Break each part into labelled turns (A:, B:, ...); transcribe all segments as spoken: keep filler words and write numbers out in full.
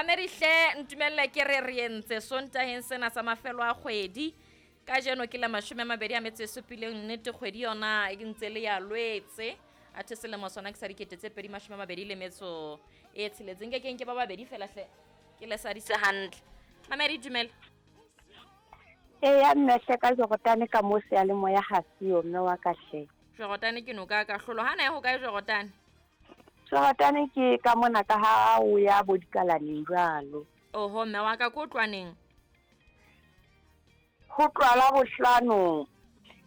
A: Mamedi hle, ntumelle ke re re entse Sontaheng sena sa mafelo a kgwedi. Kajeno ke la mashome a mabedi a metso e supileng, nnete kgwedi yona e ntse le ya Lwetse. Athe selemo sona ke sa dikete tse pedi mashome a mabedi le metso e tsheletseng. Ke keng ke ba babedi fela hle, ke le sadise hantle. Mamedi, dumela.
B: Eya mme hle, ka Jorotane ka mo seyalemoya ha seyo mme wa ka hle.
A: Jorotane ke noka ka hlolo. Ha na e ho kae Jorotane?
B: Jorotane ke ka mona ka ha o ya bo dikalaneng jwalo.
A: Oho, mme wa ka, ko tlwaneng?
B: Ho tlwala bohlano.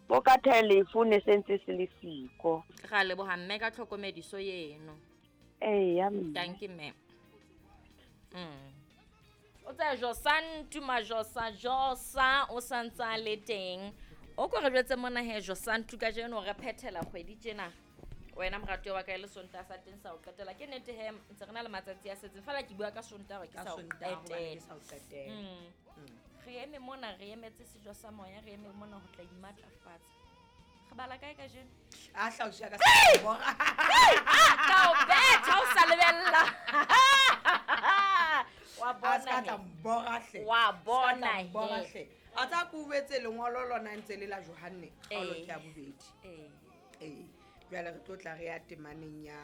B: Bo ka telephone se ntse se le siko.
A: Ra leboha mme ka tlhokomediso eno.
B: Eya mme.
A: Dankie mme. Mm. O tsaya Josantu Majosa Josa o santsa le teng. O ko re jwetse mona he Josantu, kajeno re phethela kgwedi tjena. Wena moratuwa wa ka, e le Sontaha sa teng sa ho qetela. Ke nnete he, ntse re na le matsatsi a setseng. Feela ke bua ka Sontaha hore ke
C: Ka
A: sa ho
C: Sontaha hobane
A: qetela.
C: ke sa ho qetela.
A: Mm. Re eme mona, re emetse sejo sa moya, re eme mona ho tla imatlafatsa. Re bala kae kajeno?
C: A hlausi ka sa bora.
A: Ka o betha o sa lebella. Wa
C: A ska
A: bona
C: tla
A: he.
C: mbora hle.
A: Wa bona
C: Ska tla mbora
A: he.
C: hle. A tsa ko wetse lengolo lona ntse le la Johanne kgaolo
A: Eh.
C: ke ya bobedi.
A: Eh.
C: Ee. Jwale re tlo tla re ya temaneng ya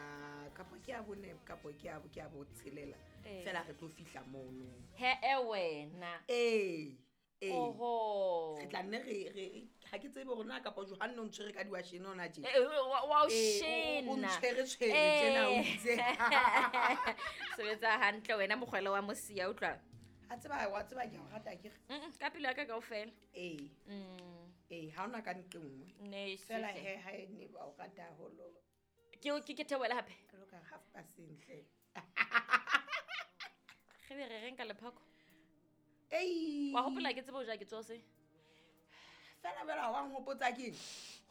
C: kapo ke ya bone kapo ke ya ke ya botshelela.
A: Eh.
C: Fela re tlo fihla mono.
A: He e wena.
C: Ee. Ee.
A: Oho.
C: Re tla nne re re ha ke tsebe hore na kapa Johanne o ntshwere ka diwashene hona tje.
A: Eh, eh, wa wa o
C: Ee, o- o- o
A: shena.
C: ntshwere tshwere tjena, o itse.
A: Sebetsa hantle wena mokgwele wa mosia, utlwa.
C: A tseba, wa tseba ke a o rata akere.
A: Mm, ka pelo ya ka kaofela.
C: Ee.
A: Mm.
C: Ee, ha hona ka nqe nngwe.
A: Ne
C: Fela
A: hle.
C: he ha e ne ba o rata haholo.
A: Ke ke ke theohele hape.
C: Jwalo ka half past ntle.
A: Re be re reng ka lephako?
C: Ei.
A: Wa hopola ke tsebe ho ja ke tsose.
C: Fela fela wa nhopotsa keng?